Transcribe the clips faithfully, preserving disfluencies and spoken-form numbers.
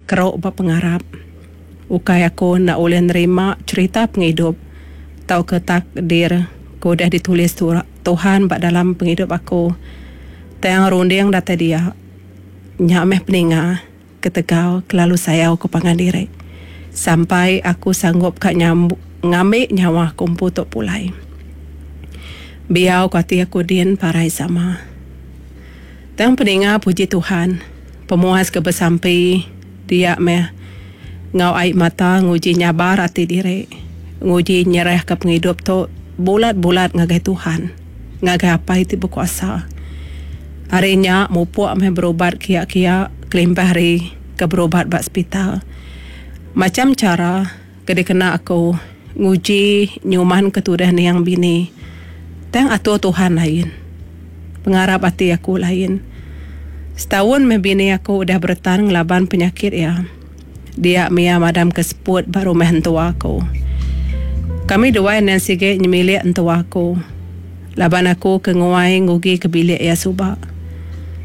Keruk ba pengarap. Ukai aku enda ulih nerima cherita pengidup tauka takdir ke udah ditulis Tuhan ba dalam pengidup aku. Tang runding datai dia. Nya meh peninga ketegal kelalu sayau ke pangan diri. Sampai aku sanggup ka ngambi nyawa aku empu tu pulai. Biau ku ati aku din parai sama. Tang peninga puji Tuhan, pemuas ke besampi dia meh enggau ai mata nguji nyabar ati diri, nguji nyerahka pengidup tu bulat-bulat ngagai Tuhan, ngagai Apai ti bekuasa. Ari nya mupuk meh berubat kia-kia kelimpah ari ke berubat ba sepital. Macham chara ke dikena aku nguji nyumanka tudah niang bini tang atur Tuhan lain. Pengarap ati aku lain. Setaun meh bini aku udah beretan ngelaban penyakit iya. Dia mia madamka seput ba rumah entua aku. Kami duai endang sigi nyemilik entua aku laban aku ke nguai ngugi ke bilik iya suba.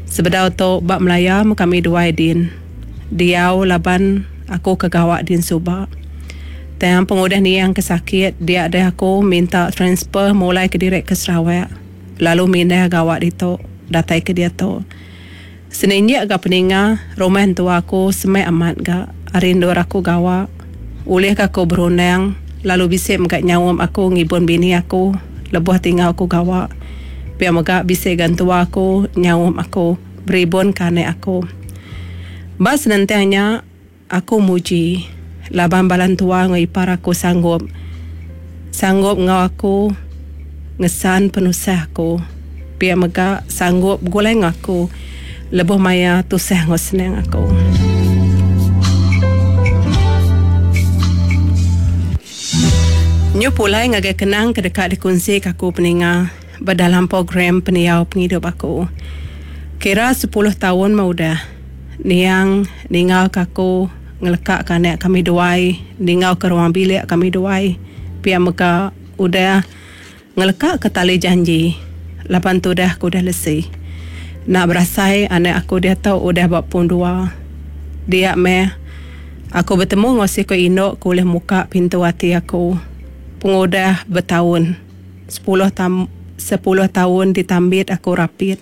Sebedau tu ba Melaya meh kami duai din diau laban aku ke gawa din suba. Tang pengudah niang ke sakit dia deh aku minta transfer mulai kediri ke Sarawak lalu mindah gawa ditu datai ke diatu. Seninjik ga peninga rumah entua aku semak amat ga ari endur aku gawa. Ulih ga aku berundang lalu bisi mega nyaum aku ngibun bini aku lebuh ti enggau aku gawa. Pia mega bisi ga entua aku nyaum aku beribun ke anak aku. Ba senentang nya aku muji laban bala entua enggau ipar aku sanggup sanggup enggau aku ngesan penusah aku. Pia mega sanggup begulai enggau aku lebuh maya tusah enggau senang aku. Nyu pulai ngagai kenang ke deka dikunsika aku peninga ba dalam program pendiau pengidup aku. Kira sepuluh taun meh udah niang ninggalka aku ngelekaka anak kami duai ninggalka ruang bilik kami duai pia mega udah ngelekaka tali janji laban tudah ke udah lesi. Enda berasai anak aku diatu udah ba pun dua. Dia meh aku betemu enggau siku indu ke ulih muka pintu ati aku pengudah betaun sepuluh tam sepuluh taun ditambit aku rapit.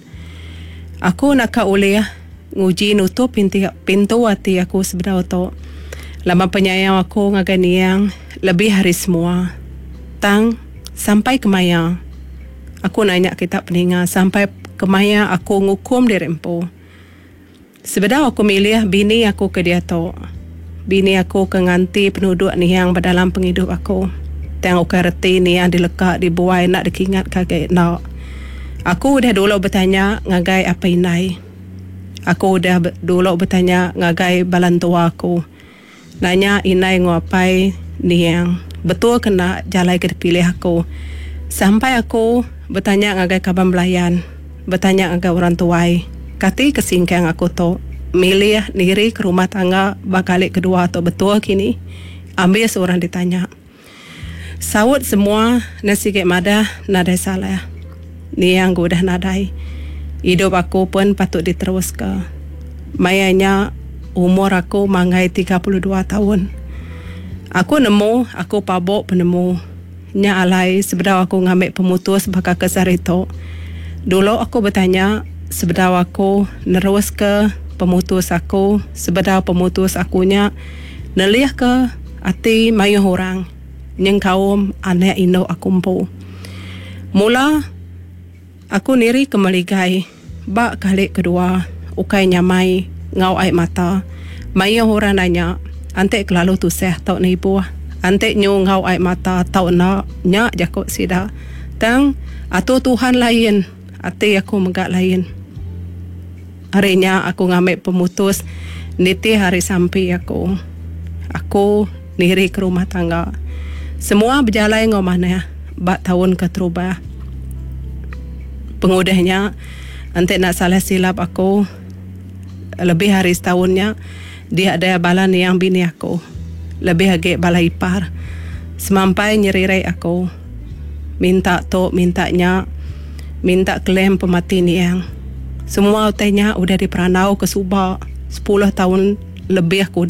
Aku naka ulih nguji nutup pinti pintu ati aku sebedau tu laban penyayau aku ngagai niang lebih ari semua. Tang sampai kemaya aku nanya kita peninga sampai kemaya aku ngukum diri empu. Sebedau aku milih bini aku ke diatu, bini aku ke nganti penuduk niang ba dalam pengidup aku. Tang ukai reti niang dileka dibuai enda dikingatka agi enda. Aku udah dulu betanya ngagai apai indai. Aku udah dulu betanya ngagai bala entua aku. Nanya indai enggau apai niang betul ke enda jalai ke dipilih aku. Sampai aku betanya ngagai kaban belayan, betanya ngagai orang tuai, kati ke singkang aku tu milih niri ke rumah tangga ba kali kedua tu betul kini? Ambis orang ditanya. Saut semua ne sigi madah nadai salah. Niang ke udah nadai. Idup aku pun patut diteruska. Maya nya umur aku manggai tiga puluh dua taun. Aku nemu aku pabuk penemu. Nya alai sebedau aku ngambi pemutus baka ke sehari tu, dulu aku betanya sebedau aku neruska pemutus aku sebedau pemutus aku nya nelihka ati mayuh orang nyengkaum anak indu aku empu. Mula aku niri ke meligai ba kali kedua ukai nyamai enggau ai mata. Mayuh orang nanya enti kelalu tusah tau nibuh, enti nyu enggau ai mata tau enda, nya jaku sida. Tang atur Tuhan lain, ati aku mega lain. Ari nya aku ngambi pemutus nitih ari sampi aku. Aku niri ke rumah tangga. Semua bejalai enggau manah ba taun keterubah. Pengudah nya, enti enda salah silap aku, lebih ari setaun nya, dia deh bala niang bini aku, lebih agi bala ipar, semampai nyeririk aku, minta tu minta nya, minta claim pemati niang. Semua utai nya udah diperandau ke suba sepuluh taun lebih ke udah.